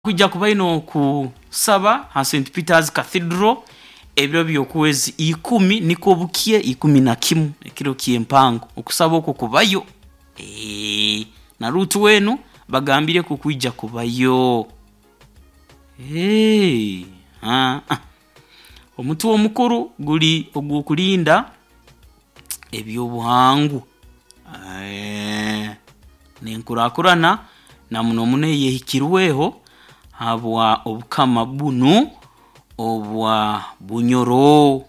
Kwija kuba aine okusaba ha St Peters Cathedral ebiro by'okwezi ikumi nikwo bukye 11 ekiro ky'empango okusaba okwo kubayo. Eeh na Ruth weenu bagambireku kwija kubayo. Eeh haa omutwe omukuru guri ogw'okurinda eby'obuhangwa n'enkurakurana na muno muno eyehikirweho habwa obukama bunu obwa Bunyoro.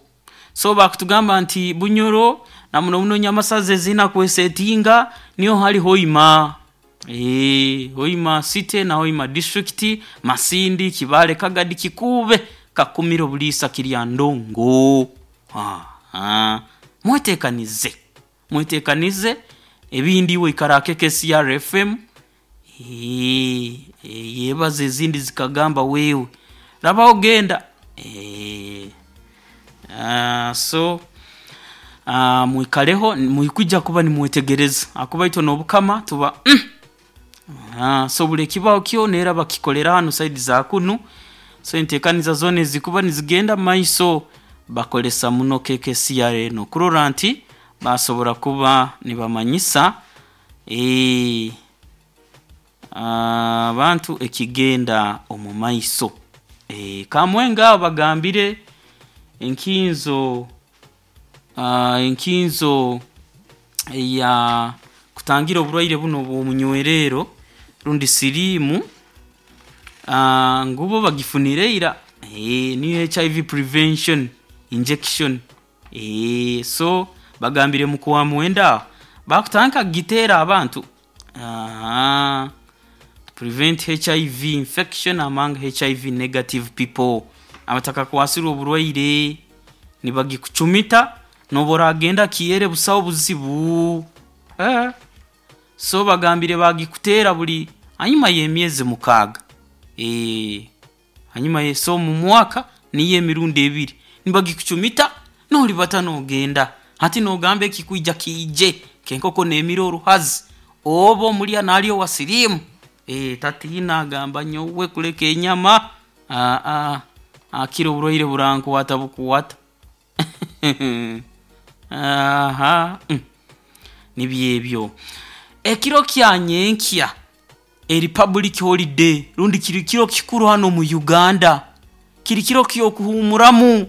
So bakutugamba nti Bunyoro na muno muno Nyamasaza eziina kwesetinga niho hari Hoima. Hoima City na Hoima District, Masindi, Kibaale, Kagadi, Kikuube, Kakumiro, Buliisa, Kiryandongo. Haa mwetekanize, mwetekanize ebindi iwe ikara aha KKCR FM ebaza ezindi zikagamba wewe rabaho genda. So mwikareho mwikwiija kuba nimwetegereza ahakuba itwe n'Obukama tuba so buri ekibaho kyona era bakikolera hanu saidi za kunu, so enteekaniza zoona ezikuba nizigenda mumaiso bakozesa muno KKCR enu kurora nti basobora kuba nibamanyisa abantu ekigenda omumaiso. Kamwenge aho bagambire enkinzo enkinzo eya kutangira oburwaire bunu obw'omunywererro rundi siriimu ngu bo bagifunire ira niyo HIV prevention injection. So bagambire mu Kwamwenda aho bakutandika kugiteera abantu prevent HIV infection among HIV negative people. Abatakakwasirwe oburwaire nibagikucumita n'obu oragenda kiheere busaho buzibu. So bagambire bagikuteera buri hanyuma y'emyezi 6. Hanyuma so omu mwaka niyo emirundi ebiri nibagikucumita n'oribata n'ogenda. Hati n'ogamba ekikwija kiije nk'enkoko neemira oruhazi oba omulya naarya owa siriimu tatiina agamba nyowe kuleka enyama hakiri oburwaire burankwata bukwata. Nibyo ebyo. Ekiro kya nyenkya eri public holiday rundi kiri kiro kikuru hanu omu Uganda, kiri kiro ky'okuhuumuramu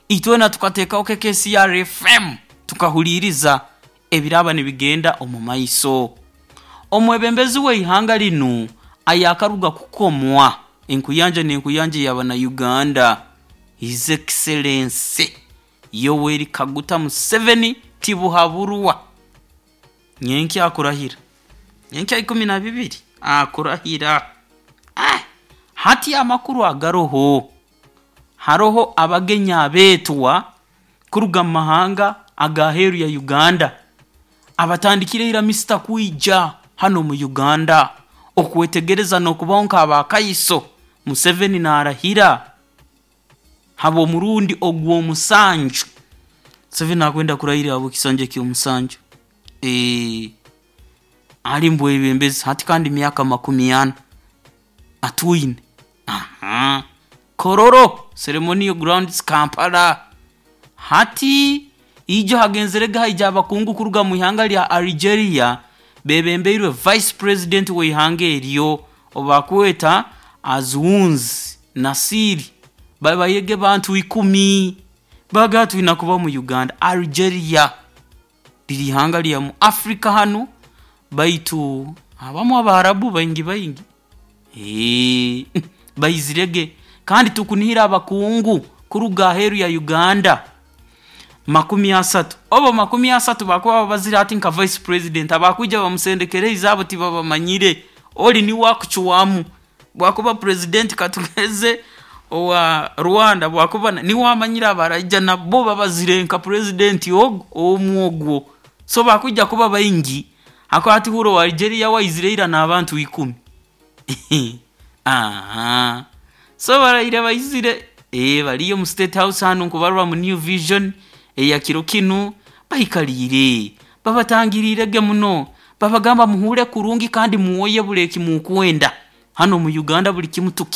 itwena tukateekaho KKCR FM tukahuliriza ebiraaba nibigenda omumaiso. Omwebembezi w'eihanga linu ayaakaruga kukomwa enkuyanja n'enkuyanja ey'abana-Uganda His Excellency Yoweri Kaguta Museveni Tibuhaburwa nyenkya akurahira, nyenkya 12 akurahira. Hati amakuru agaroho, haroho abagenyi abeetwa kuruga mu mahanga ag'aheeru ya Uganda abatandikire ira misita kwija hanu omu Uganda okwetegereza n'okubaho nk'abakaiso Museveni naarahira habw'omurundi ogw'omusanju. Museveni akwenda kurahira habw'ekisanja eky'omusanju. Ali mubwebembezi hati kandi myaka 40 atwine. Kololo Ceremonial Grounds Kampala. Hati ijo hagenzerege haija abakungu kuruga mu ihanga lya Algeria beebembeirwe Vice President w'eihanga eryo obu bakweta Azzouz Nasiri babairege bantu ikumi baagamba twina kuba mu Uganda. Algeria riri ihanga lya mu Africa hanu baitu habamu Abaharabu baingi baingi. Baizirege kandi tukunihira abakungu kuruga aheeru ya Uganda 30. Obu 30 baakuba babazire hati nka Vice President abakwija bamusendekereize abo tibabamanyire ori niwe akucwamu bwakuba President katugeze owa Rwanda bwakuba niwe amanyire abaraija nabo babazire nka President ogu omwe ogwo. So bakwija kuba baingi ahakuba hati hura owa Algeria we aizire ira n'abantu ikumi. So baraire baizire bariyo omu State House hanu nkubarora omu New Vision eya kiro kinu baikaliire babatangiriirege muno babagamba muhuure kurungi kandi muwoye buri eki mukwenda. Hanu omu Uganda buli kimu tuki.